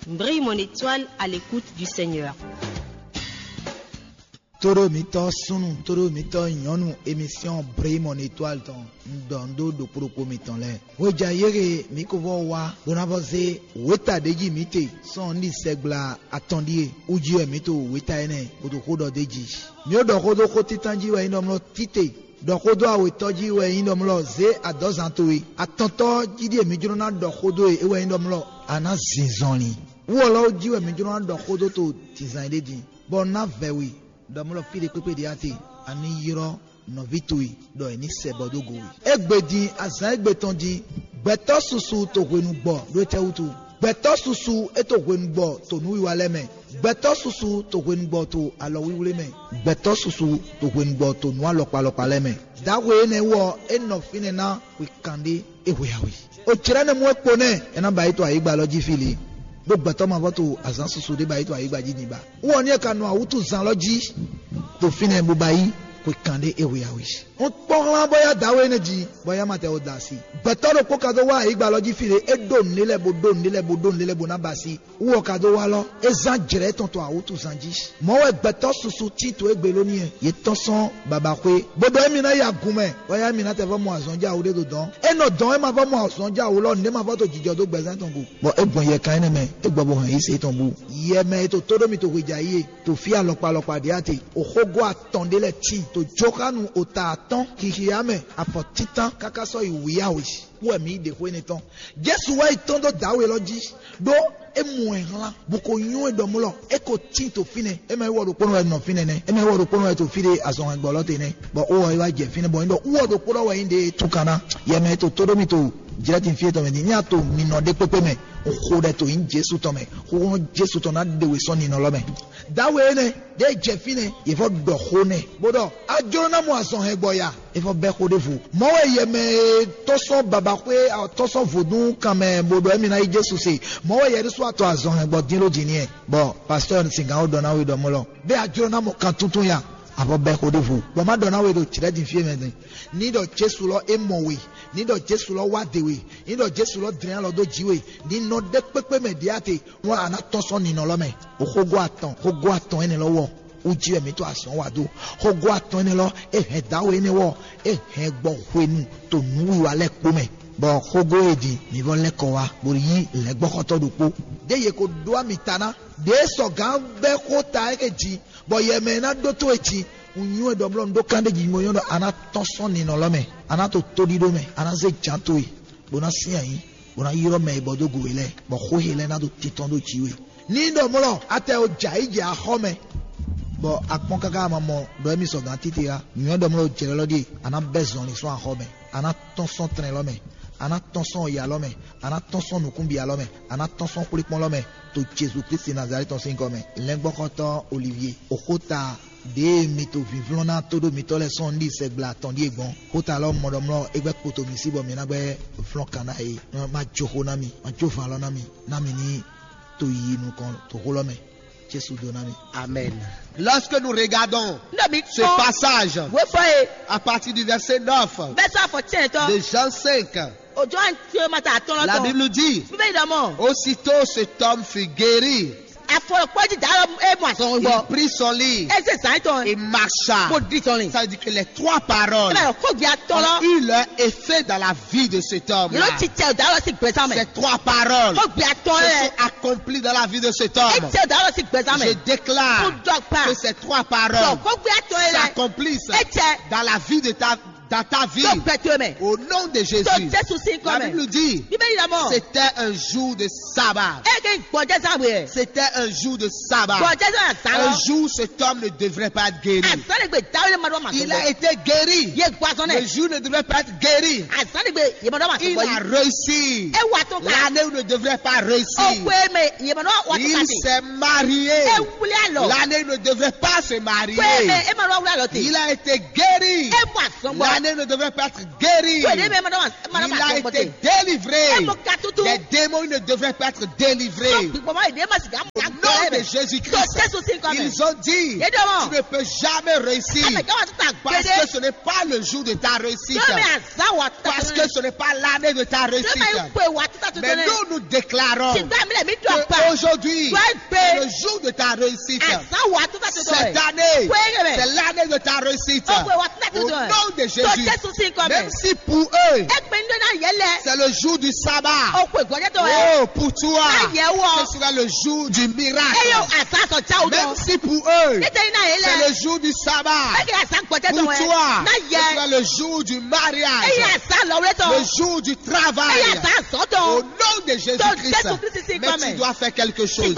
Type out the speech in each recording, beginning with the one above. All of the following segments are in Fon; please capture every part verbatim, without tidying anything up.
Brille mon étoile à l'écoute du Seigneur. Tóɖó mitɔ́ súnnu, tóɖó mitɔ́ nyɔ̌nu, émission Brille mon étoile tɔn, un ɖɔ un ɖó ɖokpó ɖokpó mitɔn lɛ́ɛ. Hweja yéhe mǐ ko vɔ́ wá bó ná vɔ́ zé wěta ɖě jí mǐ te sɔ́ un ɖi sɛgbla atɔn ɖíe. Wú jí wɛ mǐ to wěta énɛ́ bó ɖo xó ɖɔ d'é jí. Mǐ ɖɔ xó dó xó títán jí wɛ nyí ɖɔmlɔ́ tite, ɖɔ xó dó awětɔ́ jí wɛ nyí ɖɔmlɔ́ zě adɔ̌zan towe. Atɔntɔ́ jí ɖíe mǐ jló ná ɖɔ xó dó e é wɛ nyí ɖɔmlɔ́ a nǎ zin zɔnlin. Wú ɔ́ lɔ́ jí wɛ mǐ jló ná ɖɔ xó dó to dǐnzán ɖé din, bɔ un ná vɛ̌ we, ɖɔmlɔ́ fí ɖé kpékpé ɖě a te, a ní ylɔ́ nɔví towe ɖɔ è ní sɛ bɔ dó go we. Égbé din azǎn égbé tɔn jí, gbɛtɔ́ susu to hwenu gbɔ ɖó étɛ́ wútu? Gbɛtɔ́ susu é to hwenu gbɔ to nǔwiwa lɛ́ɛ mɛ. Gbɛtɔ́ susu to hwenu gbɔ to alɔwlíwlí mɛ. Gbɛtɔ́ susu to hwenu gbɔ to nǔ alɔkpa alɔkpa lɛ́ɛ mɛ. Dǎwe énɛ́ wú ɔ́, é nɔ fínɛ́ ná hwe kanɖé é hwe awe. O jlɛ́ nɛ́ mú é kpo nɛ́, é ná ba yi to ayǐgba lɔ jí fí lě, ɖó gbɛtɔ́ mavɔ to azǎn susu ɖé ba yi to ayǐgba jí din ba. Wú ɔ́ ní è ka nɔ awútuzán lɔ jí ɖo fínɛ́ bó ba yí xwe kanɖé é hwe awe. Un kpɔ́n hlán bó yá dǎwe énɛ́ jí, bɔ é yá ma tɛ o da asi. Gbɛtɔ́ ɖokpó ka dó wá ayǐgba lɔ jí fí ɖé, é ɖó nǔɖé lɛ́ɛ bó ɖó nǔɖé lɛ́ɛ bó ɖó nǔɖé lɛ́ɛ bó ná ba asi. Wú ɔ́ ka dó wá lɔ, é zán jlɛ̌ tɔn to awútuzán jí. Mɔ̌ wɛ gbɛtɔ́ susu tín to égbé ló n'i wɛ. Yě tɔ́n sɔ́n babaxwé, bó ɖɔ émí ná yi agun mɛ, bɔ éyɛ́ mǐ ná tɛ vɔ́ mɔ azɔn jɛ awu ɖé ɖo dɔ̌n. É nɔ dɔn é ma vɔ́ mɔ azɔn jɛ awu lɔ, nǔɖé ma vɔ́ to jijɔ dó gbɛzán tɔn go. Bɔ é gbɔn yɛkan énɛ́ mɛ, é gbɔ bó hɛn yí se tɔn bú. Yɛ mɛ e to tó ɖó mi to hweja yí e, to fí alɔkpa alɔkpa ɖě a te. Oxógó atɔn ɖé lɛ́ɛ tíin to jóxánu ota atɔ́n, xixiya mɛ, afɔ títán káká sɔ́ yi wǐyáwǐ. Wú wɛ mǐ yi ɖe xó énɛ́ tɔn. Jesu wá yi tɔ́n dó dǎwe lɔ jí, ɖó é mɔ ɛ hlán, bó ko nyɔ́ ɛ ɖɔmlɔ́, é ko tíin to fínɛ́. É mɛ wɔ ɖokpónɔ wɛ nɔ fínɛ́ nɛ́, é mɛ wɔ ɖokpónɔ wɛ to fí ɖé azɔn hɛngbɔ lɔ te nɛ́, bɔ ó wɔ é wá jɛ fínɛ́, bɔ nyí ɖɔ wú wɔ ɖokpónɔ wɛ nyí ɖe tún kan ná. Yɛ mɛ e to tó ɖó mi to jlɛ́ din fí tɔn mɛ din, ní a to mi nɔ ɖé kpékpé mɛ, xo ɖɛ to nyí Jesu tɔn mɛ, xóxó Jesu tɔn ná ɖe we sɔ́ ninɔ lɔ mɛ. Dǎwe énɛ́ ɖěe jɛ fínɛ́, yě vɔ ɖɔ xó nɛ́, bó ɖɔ: A jló ná mɔ azɔn hɛngbɔ ya? É vɔ bɛ́ xó ɖěvo. Mɔ̌ wɛ yɛ mɛ e tɔ́ sɔ́ babaxwé, tɔ́ sɔ́ vodún kan mɛ bó ɖɔ émí ná yí Jesu se. Mɔ̌ wɛ yɛ ɖésú atɔ azɔn hɛn gbɔ dín ɖó jǐ n'i wɛ. Bɔ pastɔ́ Singán ɖɔ ná we ɖɔ mɔ̌ lɔ: Bé a jló ná mɔ kan túntún ya? A vɔ bɛ́ xó ɖěvo. Bɔ má ɖɔ ná we ɖo jlɛ̌ din fí e mɛ din. Ní ɖɔ Jesu lɔ é mɔ we, ní ɖɔ Jesu lɔ wá de we, ní ɖɔ Jesu lɔ dlɛ́n alɔ dó jǐ we, ní nɔ ɖé kpékpé mɛ ɖě a te, nú a ná tɔ́n sɔ́ ninɔ lɔ mɛ. Xógó atɔn, xógó atɔn énɛ́ lɔ wɔ. Wú jí wɛ mǐ to azɔ̌ wa dó. Xógó atɔn énɛ́ lɔ, é hɛn dǎwe énɛ́ wɔ, é hɛn gbɔ hwenu to nǔwiwa lɛ́ɛ kpó mɛ, bɔ xógó e din mǐ vɔ lɛ́ kɔ wá, bó yí lɛ̌ngbɔ́xɔtɔ́ ɖokpó. Ɖěe yě ko ɖó ami ta ná, ɖěe sɔgǎn bɛ́ xó ta é jí, bɔ yɛ mɛ e ná ɖótó e jí. Un nywɛ́ ɖɔ blɔ́ un ɖó kán ɖé jí, un nyɔ́ ɖɔ a ná tɔ́n sɔ́ ninɔ lɔ mɛ, a ná to tóɖíɖó mɛ, a ná zé jǎn towe, bó ná sín ayǐ, bó ná ylɔ́ mɛ e bɔ dó go we lɛ́ɛ, bɔ xó he lɛ́ɛ ná ɖo tintɔn ɖó jǐ we. Ní ɖɔ mlɔ́, a tɛ o jɛ ayǐ jɛ axɔ́ mɛ, bɔ a kpɔ́n káká a ma mɔ ɖɔ émí sɔgǎn títí á. Nǔnywɛ́ ɖɔ mlɔ́ jlɛ́ lɔ ɖíe: a nǎ bɛ́ zɔnlin sɔ́ axɔ́ mɛ, a nǎ tɔ́n sɔ́ tlɛn lɔ mɛ, a nǎ tɔ́n sɔ́ ya lɔ mɛ, a nǎ tɔ́n sɔ́ nǔkúnbia lɔ mɛ, a nǎ tɔ́n sɔ́ xwlékpɔ́n lɔ mɛ, to Jezu Klísu Nazalɛ́ti tɔn sín gɔ́ mɛ. Lɛ́ngbɔ́xɔ́tɔ́ Olivyé, oxóta ɖěe mi to vǐvlɔ́n ná tóɖó mitɔ́ lɛ́ɛ sɔ́ un ɖi sɛgbla atɔn ɖíe gbɔn. Xóta lɔ mɔ ɖɔ mlɔ́ é gbɛ́ kpo to mǐ sí bɔ mǐ ná gbɛ́ flɔ́n kan ná é. Ma jó xó ná mì, ma jó van lɔ ná mì, ná mì ní to yiyi nukɔn to xó lɔ mɛ. Jesu dó ná mì. Amen. Lorsque nous regardons Nígbà mi ce passage, wé fɔ ye à partir du verset neuf bẹ́ẹ̀ sọ àfọ̀ tiẹ̀ tọ́ de Jean cinq, òjò à ń tí o ma ta àtọ́ la lọ́tọ̀. Bible nous dit, Bíbélì dọ̀ mọ́ aussitôt cet homme fut guéri, àfọlọ́pọ́jì dárọ̀ é mọ̀ àsọ̀rọ̀ il gbọ́. Prit son lit Eze zan tɔn. et marcha. Mo di tɔn ni. Ça veut dire que les trois paroles Ẹ bẹ̀rẹ̀ kó gbé atọ́ lọ. ont eu leur effet dans la vie de cet homme-là. Yóò ti tẹ ọ̀dà lọ sí gbẹ̀sán Ces mẹ́. Trois paroles Kó gbé atọ́ se rẹ̀. Sont accomplies dans la vie de cet Ẹ homme. tẹ ọ̀dà lọ sí gbẹ̀sán Je mẹ́. déclare Kó dọ́ pa. Que ces trois Tọ́ paroles kó gbé atọ́ rẹ̀. S'accomplissent Ẹ tẹ. Dans la vie de ta, dans ta vie. Tó bẹ̀ tó mẹ́. Au nom de Jésus. Tó Jésù sí kọ́ La mẹ́. Bible nous dit, Bíbélì dọ̀ mọ́. C'était un jour de sabbat. Ẹ kì í gbọ́jẹ́ sáwé ẹ̀. C'était un jour de sabbat. Gbọ́jẹ́ sáwé ẹ̀ sá Un lọ. Jour où cet homme ne devrait pas être guéri. Àsánìgbè dáwọ́lé ma dọ́ ma Il sọ. a été guéri. Yé gbazɔn Le nɛ. Jour ne devrait pas être guéri. Àsánìgbè yé ma dọ́ ma sọ. Il a réussi. Ẹ wà tó ká. L'année où ne devrait pas réussir. Ọ̀pọ̀ ẹ̀ mẹ́ yé ma dọ́ wà tó ká Il sí. S'est marié. Ẹ wuli alɔ. L'année où ne devrait pas se marier. Pé ẹ ẹ ma dọ́ wuli alɔ tè. Il a été guéri. Ẹ mọ àsán gbọ́. L'âne ne devrait pas être guéri. Ko ɖe mɛ ma ɖɔ ma ma Il a été délivré. Emo ka tutu. Des démons ne devraient pas être délivrés. Gbogbo ma ɖe ma sika Au nom de Jésus-Christ, ils ont dit, tu ne peux jamais réussir. Parce que ce n'est pas le jour de ta réussite. Parce que ce n'est pas l'année de ta réussite. Mais nous, nous déclarons que aujourd'hui, c'est le jour de ta réussite. Cette année, c'est l'année de ta réussite. Au nom de Jésus. Même si pour eux, c'est le jour du sabbat. Oh, pour toi, ce sera le jour du miracle. Même si pour eux, c'est le jour du sabbat. Pour toi, ce sera le jour du mariage. Le jour du travail. Au nom de Jésus-Christ. Mais tu dois faire quelque chose.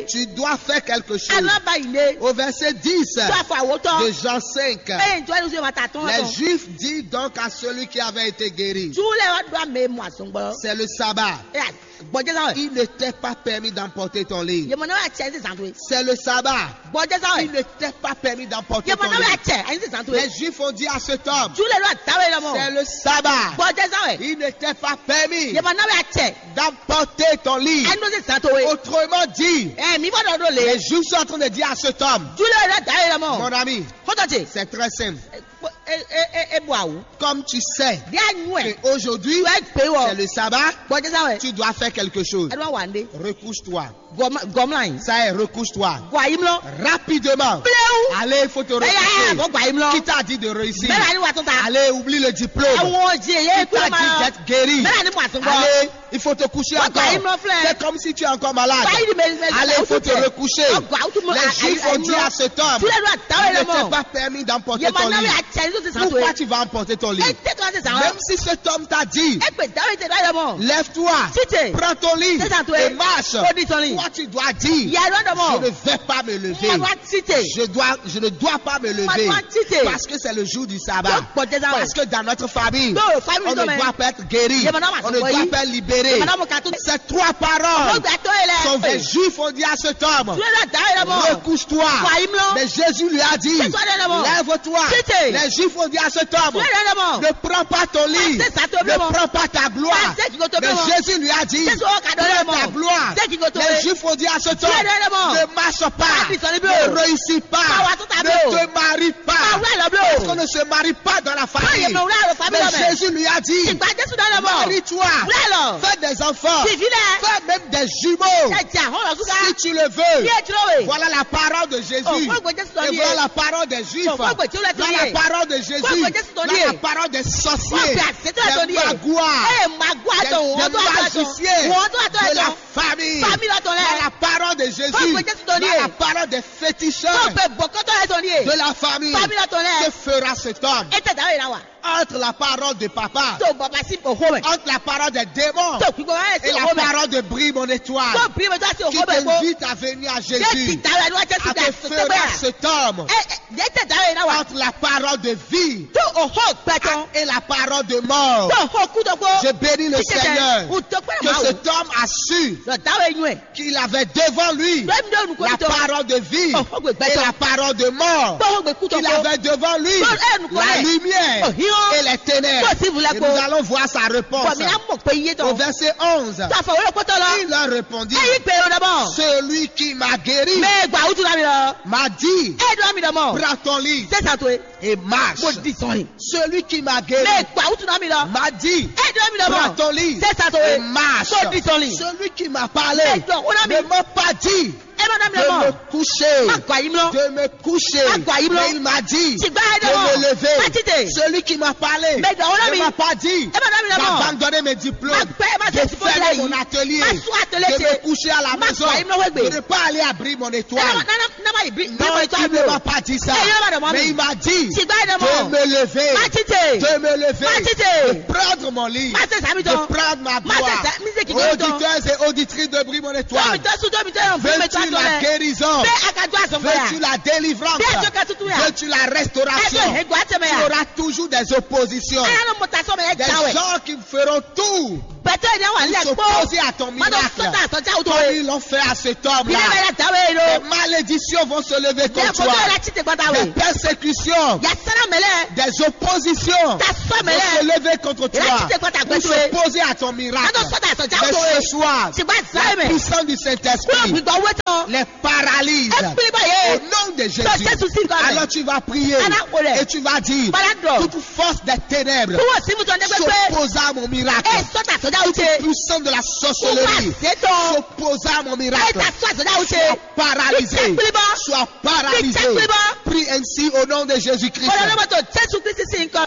Tu dois faire quelque chose. Au verset dix de Jean cinq, les Juifs disent donc à celui qui avait été guéri, c'est le sabbat. Il ne t'est pas permis d'emporter ton lit. C'est le sabbat. Il ne t'est pas permis d'emporter ton lit. Les Juifs ont dit à cet homme, c'est le sabbat. Il ne t'est pas permis d'emporter ton lit. Autrement dit, les Juifs sont en train de dire à cet homme, mon ami, c'est très simple. Comme tu sais qu'aujourd'hui, c'est le sabbat, tu dois faire quelque chose. Recouche-toi. Ça est, recouche-toi. Rapidement. Allez, il faut te recoucher. Qui t'a dit de réussir? Allez, oublie le diplôme. Qui t'a dit d'être guéri? Allez, il faut te coucher encore. C'est comme si tu es encore malade. Allez, il faut te recoucher. Les Juifs ont dit à cet homme, il ne t'est pas permis d'emporter ton lit. Pourquoi tu vas emporter ton lit? Même si cet homme t'a dit, lève-toi, prends ton lit et marche. Toi, tu dois dire, je ne vais pas me lever. Je dois, je ne dois pas me lever. Parce que c'est le jour du sabbat. Parce que dans notre famille, on ne doit pas être guéri. On ne doit pas être libéré. Ces trois paroles sont, les Juifs ont dit à cet homme, recouche-toi. Mais Jésus lui a dit, lève-toi. Les Juifs ont dit à cet homme, ne prends pas ton lit. Ne prends pas ta gloire. Mais Jésus lui a dit, prends ta gloire. Les Juifs ont dit à cet homme, ne marche pas. Ne réussis pas. Ne te marie pas. Parce qu'on ne se marie pas dans la famille. Mais Jésus lui a dit, marie-toi. Fais des enfants. Fais même des jumeaux. Si tu le veux. Voilà la parole de Jésus. Et voilà la parole des Juifs. Voilà la parole de Jésus. Voilà la parole des sorciers. Des magouas. Des magiciens. De la famille. Voilà la parole de Jésus. Voilà la parole des féticheurs. De la famille. Que fera cet homme? Entre la parole de papa, entre la parole des démons et la parole de brime en étoile qui t'invite à venir à Jésus, que fera cet homme? Entre la parole de vie et la parole de mort. Je bénis le Seigneur que cet homme a su qu'il avait devant lui la parole de vie et la parole de mort, qu'il avait devant lui la lumière et les ténèbres. Et nous allons voir sa réponse. Au verset onze, il leur répondit, celui qui m'a guéri m'a dit, prends ton lit et marche. Celui qui m'a guéri m'a dit, prends ton lit et marche. Celui qui m'a parlé ne m'a pas dit de me coucher, de me coucher. Mais il m'a dit de me lever. Celui qui m'a parlé ne m'a pas dit d'abandonner mes diplômes, de fermer mon atelier, de me coucher à la maison, de ne pas aller abrir mon étoile. Non, il ne m'a pas dit ça. Mais il m'a dit de me lever, de me lever, de prendre mon lit, de prendre ma gloire. Auditeurs et auditrices de Bri Mon Étoile, veux-tu la guérison? Veux-tu la délivrance? Veux-tu la restauration? Tu auras toujours des oppositions. Des gens qui feront tout Bɛtɛ yɛ wà lɛ kpó. S'opposer à ton miracle. Mado sɔta sɔja wuto Comme ye. Ils l'ont fait à cet homme-là. Bilẹ bɛ yɛ dawe yi Des lo. Malédictions vont se lever contre toi. Yɛ kojú yɛ la titi gbada Des we. Persécutions. Yasana mɛlɛ. Des oppositions. Ta sɔ mɛlɛ. Vont se lever contre toi. Yɛ la titi gbada Pour gbɛtɔ ye. S'opposer à ton miracle. Mado sɔta sɔja wuto ye. Mais ce soir, Sigba zan la ye mɛ. Puissance du Saint-Esprit. Kúrò gbígbɔ wétɔ. Les paralyse. Ekpili bɔ ye. Au nom de Jésus. Sɔ Jésù sí nǹkan mɛ. Alors tu vas prier. Ala kò lɛ. Et tu vas dire, Bala dɔ. Toute force des ténèbres. Kúrò sí mutɔ ndégbé pé. S'oppose à mon miracle. E sɔta sɔja wuce. Puissance de la sorcellerie. Kúrò sétɔ. S'oppose à mon miracle. E ta sɔ sɔja wuce. Sois paralysé. Ìtẹ́kpili bɔ. Sois paralysé. Ìtẹ́kpili bɔ. Prie ainsi au nom de Jésus-Christ. Kò lè lọ́mọ tó Jésù Kristi sí nǹkan.